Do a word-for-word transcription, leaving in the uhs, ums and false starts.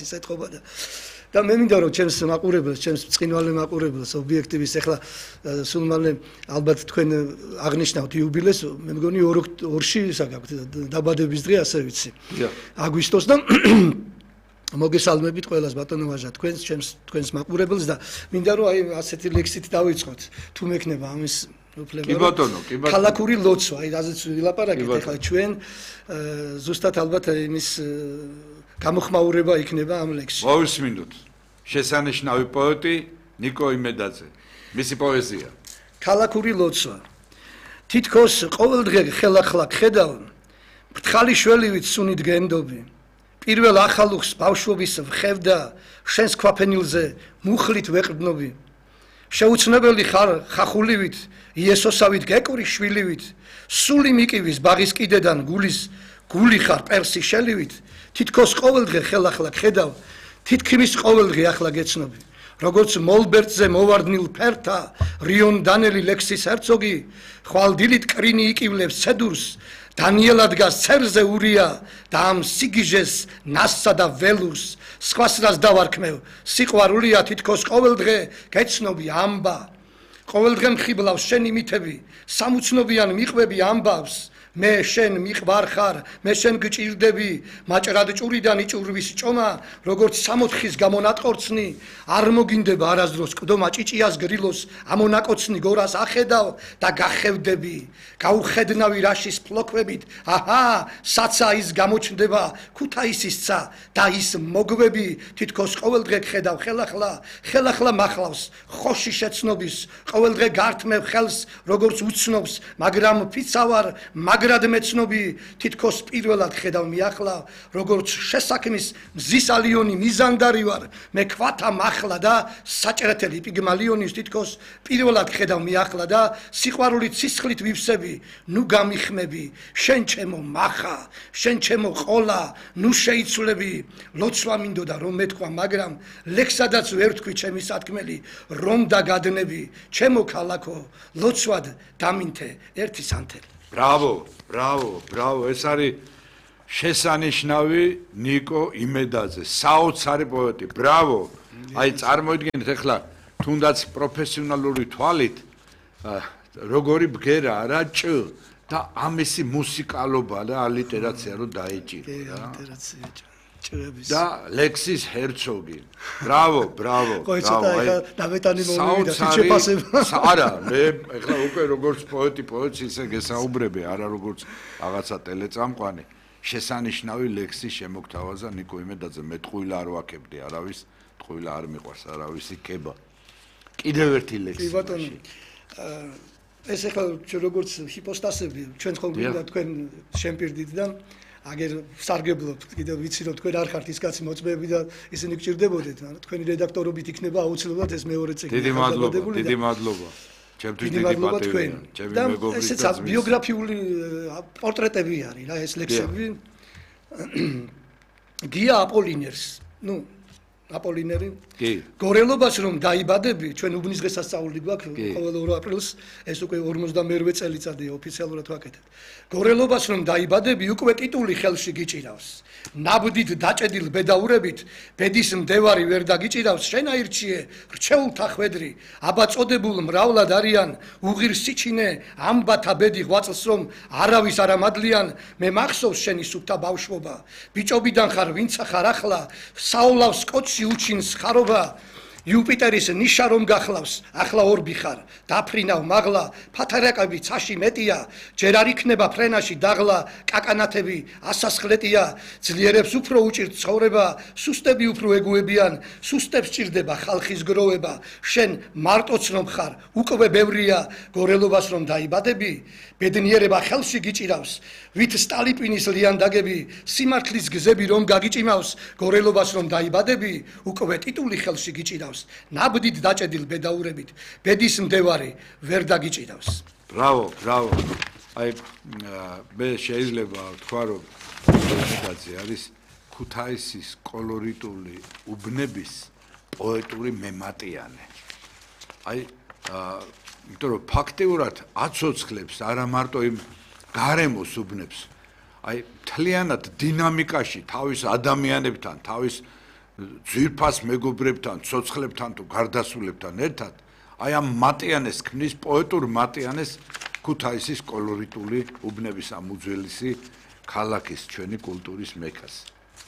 სიტყვა და და მე მინდა რომ ჩემს მაყურებელს, ჩემს წინვალე მაყურებელს ობიექტივის ახლა სულ მალე ალბათ თქვენ აღნიშნავთ იუბილეს, მე მგონი ორში საგაქვთ დაბადების დღე ასე ვიცი. აგვისტოს და მოგესალმებით ყველას ბატონო ვაჟა თქვენს ჩემს თქვენს მაყურებელს და მინდა რომ აი ასეთი ლექსით დავიწყოთ თუ მექნება ამის კი ბატონო, კი ბატონო. ქალაქური ლოცვა, აი რაზეც ვილაპარაკეთ ახლა ჩვენ ზუსტად ალბათ იმის გამოხმაურება იქნება ამ ლექსში. მოვისმინოთ. შესანიშნავი პოეტი ნიკო იმედაძე. მისი პოეზია. ქალაქური ლოცვა. თითქოს ყოველდღე ხელახლა ხედავ მრთხალი შველივით სუნით გენდობი. პირველ ახალუხს ბავშვობის ვხევდა შენს ქვაფენილზე მუხლით ვეყრდნობი. შეუცნებელი ხარ ხახულივით იესოსავით გეკური შვილივით სული მიკივის ბაღის კიდედან გულის გული ხარ პერსი შელივით თითქოს ყოველდღე ხელახლა ხედავ თითქმის ყოველდღე ახლა გეცნობი როგორც მოლბერტზე მოვარდნილ ფერთა რიონ დანელი ლექსის ჰერცოგი ხვალ დილით კრინი იკივლებს ცედურს დანიელა დგას ცერზე ურია და ამ სიგიჟეს ნასსა და ველურს სხვას რას დავარქმევ სიყვარულია თითქოს ყოველდღე გეცნობი ამბა ყოველდღე მხიბლავს შენი მითები სამუცნობიან მიყვები ამბავს მე შენ მიყვარ ხარ მე შენ გჭირდები მაჭრად ჭურიდან იჭურვის ჭომა როგორც სამოთხის გამონატყორცნი არ მოგინდება არასდროს ყდომა ჭიჭიას გრილოს ამონაკოცნი გორას ახედავ და გახევდები გაუხედნავი რაშის ფლოქვებით აჰა საცა ის გამოჩნდება ქუთაისისცა და ის მოგვები თითქოს ყოველდღე ხედავ ხელახლა ხელახლა მახლავს ხოში შეცნობის ყოველდღე გართმევ ხელს როგორც უცნობს მაგრამ ფიცავარ მაგრად მეცნობი თითქოს პირველად ხედავ მიახლავ როგორც შესაქმის მზის ალიონი მიზანდარი ვარ მე ქვათა მახლა და საჭრეთელი პიგმალიონის თითქოს პირველად ხედავ მიახლა და სიყვარულით სისხლით ვივსები ნუ გამიხმები შენ ჩემო მახა შენ ჩემო ყოლა ნუ შეიცვლები ლოცვა მინდოდა რომ მეთქვა მაგრამ ლექსადაც ვერ თქვი ჩემი სათქმელი რომ დაგადნები ჩემო ქალაქო ლოცვად დამინთე ერთი სანთელი ბრავო ბრავო ბრავო ეს არის შესანიშნავი ნიკო იმედაძე საოცარი პოეტი ბრავო აი წარმოიდგინეთ ახლა თუნდაც პროფესიონალური თვალით როგორი ბგერა რა ჭ და ამისი მუსიკალობა და ალიტერაცია რო დაეჭირა ალიტერაცია ჭრების და ლექსის ჰერცოგი ბრავო ბრავო ყოი ცოტა ახლა დამეტანი მომივიდა შეფასება არა მე ახლა უკვე როგორც პოეტი პოეტს ისე გესაუბრები არა როგორც რაღაცა ტელეწამყვანი შესანიშნავი ლექსის შემოგთავაზა ნიკო იმედაძე მე ტყუილა არ ვაკებდი არავის ტყუილა არ მიყვარს არავისი კება კიდევ ერთი ლექსი კი ბატონო ეს ახლა როგორც ჰიპოსტასები ჩვენ ხომ გვინდა თქვენ შემპირდით და აგერ სარგებლობთ კიდევ ვიცი რომ თქვენ არ ხართ ის კაცი მოწმეები და ისინი გჭირდებოდეთ მაგრამ თქვენი რედაქტორობით იქნება აუცილებლად ეს მეორე წიგნი დიდი მადლობა დიდი მადლობა ჩემთვის დიდი პატივია ჩემი მეგობრის და ესეც ბიოგრაფიული პორტრეტები არის რა ეს ლექსები გია აპოლინერს ნუ აპოლინერი კი გორელობას რომ დაიბადები ჩვენ უბნის დღესასწაული გვაქვს ყოველ ორ აპრილს ეს უკვე ორმოცდამეორვე წელიწადია ოფიციალურად ვაკეთებ გორელობას რომ დაიბადები უკვე ტიტული ხელში გიჭირავს ნაბდით დაჭედილ ბედაურებით ბედის მდევარი ვერ დაგიჭირავს შენ აირჩიე რჩეულთა ხვედრი აბა წოდებულ მრავლად არიან უღირს სიჩინე ამბათა ბედი ღვაწლს რომ არავის არ ამადლიან მე მახსოვს შენი სუფთა ბავშვობა ბიჭობიდან ხარ ვინცა ხარ ახლა საოლავს კოცი უჩინს ხარობა იუპიტერის ნიშა რომ გახლავს ახლა ორბი ხარ დაფრინავ მაღლა ფათერაკები ცაში მეტია ჯერ არ იქნება ფრენაში დაღლა კაკანათები ასასხლეტია ძლიერებს უფრო უჭირთ ცხოვრება სუსტები უფრო ეგუებიან სუსტებს ჭირდება ხალხის გროვება შენ მარტოც რომ ხარ უკვე ბევრია გორელობას რომ დაიბადები ბედნიერება ხელში გიჭირავს ვით სტალიპინის ლიანდაგები სიმართლის გზები რომ გაგიჭიმავს გორელობას რომ დაიბადები უკვე ტიტული ხელში გიჭირავს ნაბდით დაჭედილ ბედაურებით ბედის მდევარი ვერ დაგიჭირავს ბრავო ბრავო აი მე შეიძლება ვთქვა რომ იმედაძე არის ქუთაისის კოლორიტული უბნების პოეტური მემატიანე აი იმიტომ რომ ფაქტიურად აცოცხლებს არა მარტო იმ გარემოს უბნებს აი მთლიანად დინამიკაში თავის ადამიანებთან თავის ძვირფას მეგობრებთან, ცოცხლებთან თუ გარდასულებთან ერთად აი ამ მატიანეს ქმნის პოეტურ მატიანეს ქუთაისის კოლორიტული უბნების ამ უძველესი ქალაქის ჩვენი კულტურის მექას.